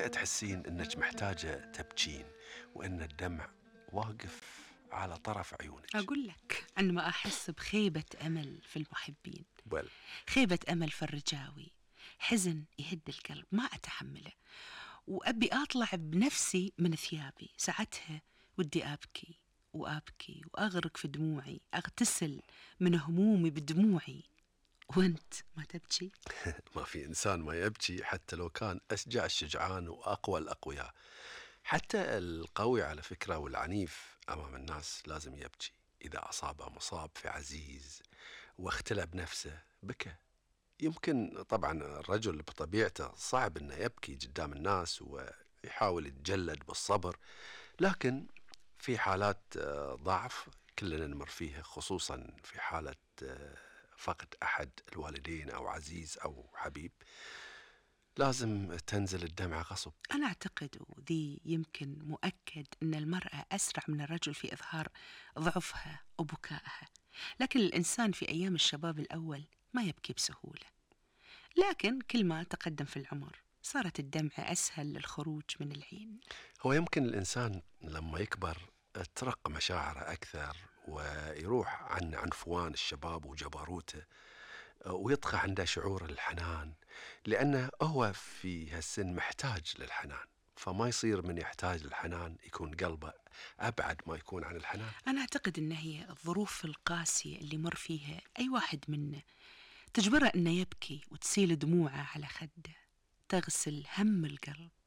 متى تحسين إنك محتاجة تبكين وإن الدمع واقف على طرف عيونك؟ أقول لك عندما أحس بخيبة أمل في المحبين، بل خيبة أمل في الرجاوي، حزن يهد القلب ما أتحمله، وأبي أطلع بنفسي من ثيابي. ساعتها ودي أبكي وأبكي وأغرق في دموعي، أغتسل من همومي بدموعي. وأنت ما تبكي؟ ما في إنسان ما يبكي حتى لو كان أشجع الشجعان وأقوى الأقوياء. حتى القوي على فكرة والعنيف أمام الناس لازم يبكي. إذا أصابه مصاب في عزيز واختلى بنفسه بكى. يمكن طبعا الرجل بطبيعته صعب أنه يبكي قدام الناس ويحاول يتجلد بالصبر، لكن في حالات ضعف كلنا نمر فيها، خصوصا في حالة فقد أحد الوالدين أو عزيز أو حبيب، لازم تنزل الدمعة غصب. أنا أعتقد وذي يمكن مؤكد أن المرأة أسرع من الرجل في إظهار ضعفها وبكائها، لكن الإنسان في أيام الشباب الأول ما يبكي بسهولة، لكن كل ما تقدم في العمر صارت الدمعة أسهل للخروج من العين. هو يمكن الإنسان لما يكبر ترق مشاعره أكثر ويروح عن عنفوان الشباب وجبروته، ويطغى عنده شعور الحنان، لأنه هو في هالسن محتاج للحنان، فما يصير من يحتاج للحنان يكون قلبه أبعد ما يكون عن الحنان. أنا أعتقد أن هي الظروف القاسية اللي مر فيها أي واحد منا تجبره أنه يبكي وتسيل دموعه على خده، تغسل هم القلب